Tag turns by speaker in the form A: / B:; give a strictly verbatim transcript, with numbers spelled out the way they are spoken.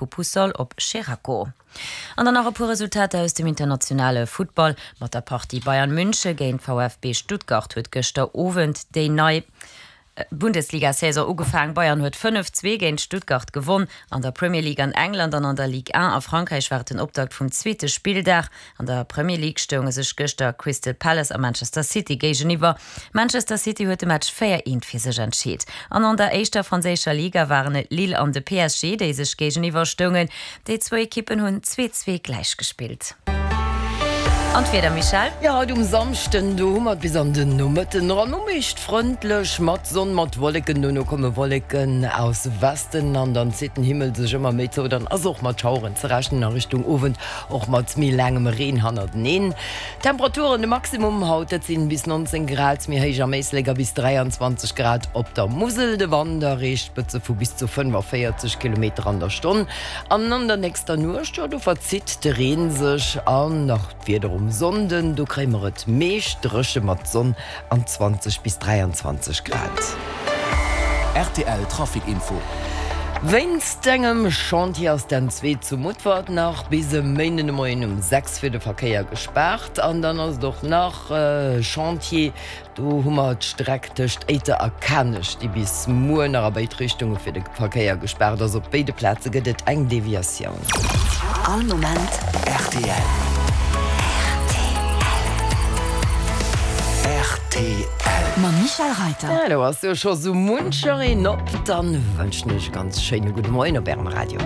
A: Vu Puçol op Xeraco. An dann nach e puer Resultater aus dem internationale Futtball. Mat der Partie Bayern München géint VfB Stuttgart huet gëschter Owend déi nei Bundesliga-Saison ugefaangen. Bayern huet fënnef, zwee géint Stuttgart gewonn. An der Premier League an England an an der Ligue un a Frankräich war et den Optakt vum zweete Spilldag. An der Premier League stounge sech gëschter Crystal Palace a Manchester City géigeniwwer. Manchester City huet de Match véier, eent fir sech entscheet. An an der éischter franséischer Liga waren et Lille an de P S G, déi sech géigeniwwer stoungen. Déi zwou Ekippen hunn zwee, zwee gläich gespillt. An d'Wieder, Michèle?
B: Jo, haut um Samschden, do hu mer et bis an den Nomëtten eran meescht frëndlech mat Sonn, mat Wolleken. Dono komme Wolleken aus Westen an dann zitt den Himmel sech ëmmer méi zou. Dann ass och mat Schaueren ze rechnen a Richtung Owend och mat méi laangem Reen hannerteneen. Temperaturen, de Maximum haut, dat sinn bis nonzéng Grad méi héich am Éislek a bis dräianzwanzeg Grad op der Musel. De Wand erreecht Spëtze vu bis zu fënnefaféierzeg Kilometer an der Stonn. An an der nächster Nuecht, jo, do verzitt de Reen sech an nach d'Wieder um Sonnden, do kréie mer et meescht dréche mat Sonn an zwanzeg bis dräianzwanzeg Grad.
C: R T L Trafic Info.
B: Wéinst engem Chantier ass den Zwee zu Mutfert nach bis e Méinden de Moien um sechs fir de Verkéier gespaart. An dann ass et och nach Chantier, do hu mer d'Streck tëscht Éiter a Kanech, déi bis muer nach a béid Richtunge fir de Verkéier gespaart ass. Op béide Plaze gëtt et eng Deviatioun.
D: All Moment
C: R T L. R T L.
D: Mam Michèle Reiter.
B: Ja, do ass jo scho sou muncher een op. Dann wënschen ech e ganz schéine gudde Moien op Ärem Radio.